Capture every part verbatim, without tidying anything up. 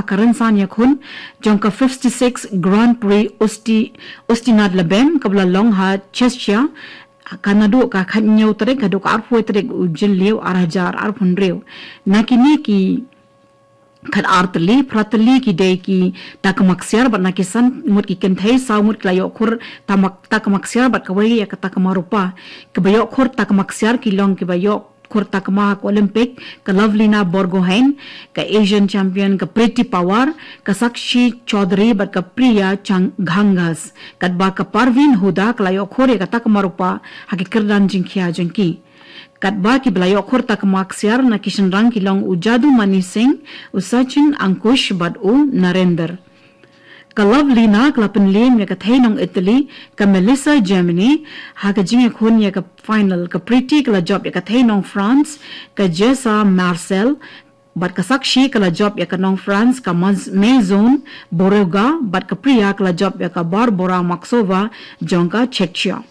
ka rynsan ïakhun jong ka fifty-six Grand Prix Osti, Ostinat Labem kaba la long ha Chechnya, ka naduh ka khathynñiew tarik haduh ka arphew tarik u Jylliew ar hajar arphew hynriew. Na kine ki khatar tylli, phra tylli ki dei ki takma ksiar bad na ki san ngut ki kynthei, saw ngut ki la ïoh khur takma, takma ksiar bad kawei ïa ka takma rupa. Kiba ïoh khur takma ksiar ki long kiba ïoh khur takma ha ka Olympic, ka Lovelina Borgohain, ka Asian champion, ka Priti Pawar, ka Sakshi Chaudhary bad ka Priya Chang-, Ghangas. Katba ka Parveen Huda ka la ïoh khur ïa ka takma rupa ha ki kyrdan jingkhia jong ki. Katba kiba la ïoh khur takma ksiar na ki shynrang ki long u Jadumani Singh, u Sachin Ankush bad u Narender. Ka Lovelina ka la pynliem ïa ka thei nong Italy, ka Melissa Germany, ha ka jingïakhun ïa ka final. Ka Priti ka la jop ïa ka thei nong France, ka Jessa Marcel, bad ka Sakshi ka la jop ïa ka nong France, ka Maz-, Maison Borrega, bad ka Priya ka la jop ïa ka Barbora Maksova jong ka Czechia.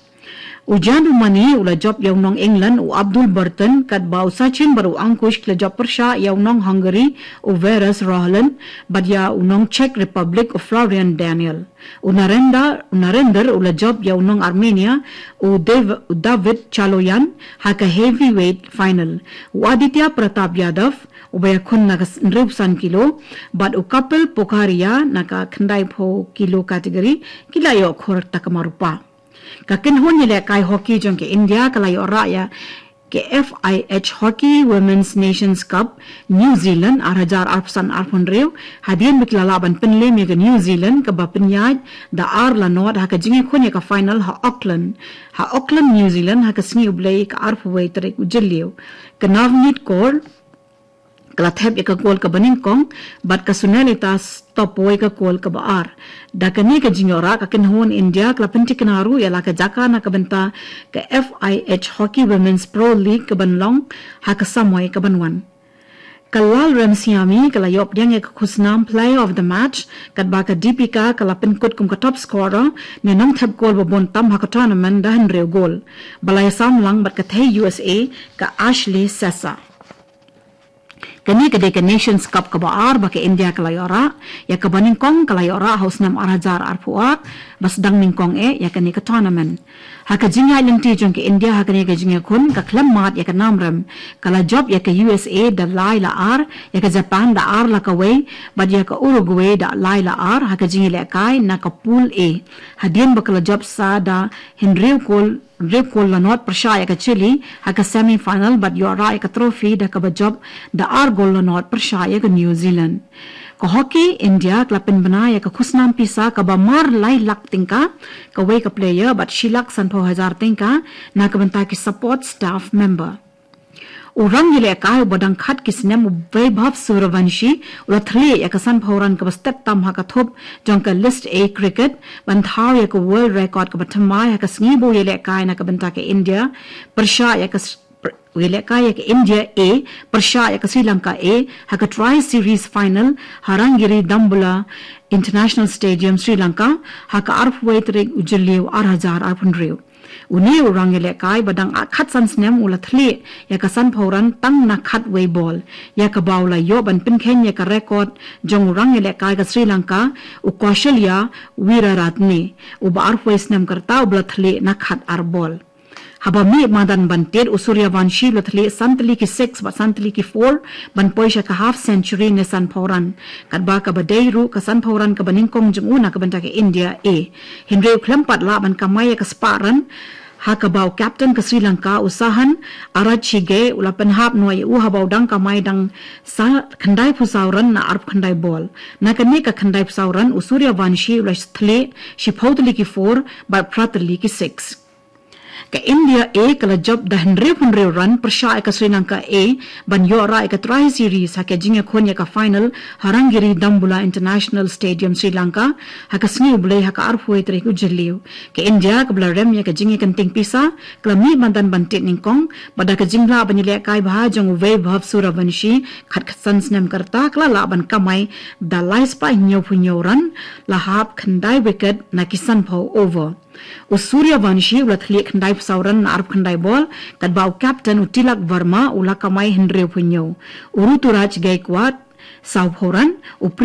U Jadumani u la jop ïa u nong England, u Abdul Burton, katba u Sachin bad u Ankush ki la jop pyrshah ïa u nong Hungary, u Verus Rohlen, bad ïa u nong Czech Republic, u Florian Daniel. U Narenda, u Narender u la jop ïa u nong Armenia, u Dev-, u David Chaloyan, ha ka heavyweight final. U Aditya Pratap Yadav, uba ïakhun na ka s-, hynriewphew san kilo, bad u Kapil Pokhariya na ka khyndaiphew kilo category, ki la ïoh khur takma rupa. Ka kynhun ïalehkai hockey jong ka India ka la ïoh rah ïa ka F I H Hockey Women's Nations Cup New Zealand ar hajar arphew san arphew hynriew, hadien ba ki la lah ban pynliem ïa ka New Zealand kaba pynïaid da ar la nod ha ka jingïakhun ïa ka final ha Auckland. Ha Auckland, New Zealand, ha ka sngi U Blei ka arphew wei tarik u Jylliew. Ka Navneet Kaur ka la thep ïa ka gol kaba nyngkong, bad ka Sunelita Stopway ka gol kaba ar. Da kane ka jingïoh rah ka kynhun India ka la pynthikna ruh ïa la ka jaka na ka bynta ka F I H Hockey Women's Pro League kaban long ha ka samoi kaban wan. Ka Lalremsiami ka la ïoh pdiang ïa ka khusnam Player of the Match, katba ka Deepika ka la pynkut kum ka top scorer ne nongthep gol ba bun tam ha ka tournament da hynriew gol. Ba la ïasam lang bad ka thei U S A ka Ashley Sessa. Kane ka dei ka Nations Cup kaba ar ba ka India ka la ïoh rah, ïa kaba nyngkong ka la ïoh rah ha u snem ar hajar arphew ar, ba sdang nyngkong eh ïa kane ka tournament. Ha ka jingïaid lynti jong ka India ha kane ka jingïakhun, ka khlem mad ïa ka nam rem, ka la jop ïa ka U S A da lai la ar, ïa ka Japan da ar la kawei, bad ïa ka Uruguay da lai la ar, ha ka jingïalehkai na ka Pool A. Hadien ba ka la jop sa da hynriew gol, hynriew gol la nod pyrshah ïa ka Chile ha ka semi final bad ïoh rah ïa ka trophy da kaba jop da ar gol la nod pyrshah ïa ka New Zealand. Ka Hockey India ka la pynbna ïa ka khusnam pisa kaba mar lai lak tyngka kawei ka player bad shi lak sanphew hajar tyngka na ka bynta ki support staff member. U rangïalehkai uba dang khat ki snem u Vaibhav Sooryavanshi u la thylliej ïa ka sanphew run kaba stet tam ha ka thup jong ka List A cricket ban thaw ïa ka world record kaba thymmai ha ka sngi ba u ïalehkai na ka bynta ka India pyrshah ïa ka s-, pr-, u ïalehkai ïa ka India A pyrshah ïa ka Sri Lanka A ha ka Tri Series final ha Rangiri Dambulla International Stadium, Sri Lanka, ha ka arphew wei tarik u Jylliew ar hajar arphew hynriew. Une u rangïalehkai ba dang khatsan snem u la thylliej ïa ka sanphew run tang na khatwei bol, ïa kaba u la ïoh ban pynkheiñ ïa ka record jong u rangïalehkai ka Sri Lanka, u Kausalya Weeraratne, uba arphew wei snem ka rta, uba la thylliej na khatar bol. Haba mih madan ban tied, u Sooryavanshi u la thylliej san tylli ki six bad san tylli ki four ban poi sha ka half century ne sanphew run. Katba kaba dei ruh ka sanphew run kaba nyngkong jong u na ka bynta ka India A. Hynrei u khlem pat lah ban kamai ïa ka spah run, ha kaba u captain ka Sri Lanka, u Sahan Arachige, u la pynhap noh ïa u haba u dang kamai dang sa khyndaiphew saw run na arphew khyndai bol. Na kane ka khyndaiphew saw run, u Sooryavanshi u la thylliej shiphew tylli ki four bad phra tylli ki six. Ka India A ka la jop da hynriew hynriew run pyrshah ïa ka Sri Lanka A ban ïoh rah ïa ka Tri Series ha ka jingïakhun ïa ka final ha Rangiri Dambulla International Stadium, Sri Lanka, ha ka sngi U Blei ha ka arphew wei tarik u Jylliew. Ka India kaba la rem ïa ka jingïakynting pisa ka la mih madan ban tied nyngkong, bad da ka jinglah ban ïalehkai bha jong u Vaibhav Sooryavanshi khatkhatsan snem ka rta, ka la lah ban kamai da lai spah hynñiewphew hynñiew run, la hap khyndai wicket na ki sanphew over. U Sooryavanshi u la thylliej khyndaiphew saw run na arphew khyndai bol, katba u captain u Tilak Varma u la kamai hynriewphew hynñiew. U Ruturaj Gaikwad sawphew run, u Pri